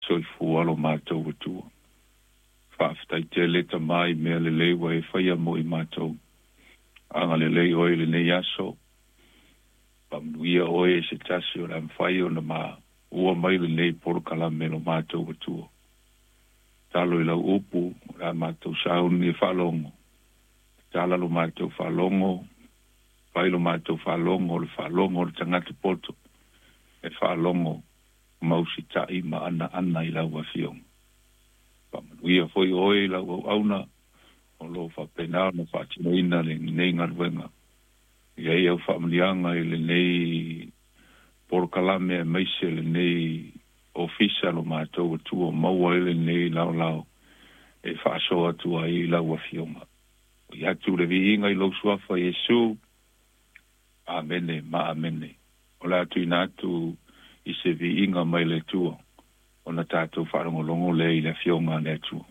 Soifua lo matou Atua. Faafetai tele Tama i mea lelei ua e faia mo i matou. Agalelei oe i lenei aso. Faamanuia oe i se tasi o le a mafai ona maua mai lenei polokalame lo matou Atua. Tatalo i lau upu o le a matou sauni e faalogo. Tatala lo matou faalogo, fai lo matou faalogo o le faalogo o le tagata poto e faalogo ma usitai ma anaana i lau Afioga. Faamanuia foi oe i lau auauna o lo o faapena ona faatinoina lenei galuega. I ai au faamanuiaga i lenei polokalame aemaise lenei ofisa lo matou Atua maua ai lenei laolao e faasoa atu ai i lau Afioga. Foi atu le viiga i lou suafa Iesu. Amene ma amene. O le a tuuina atu i se viiga mai le Atua ona tatou faalogologo lea i le Afioga a le Atua.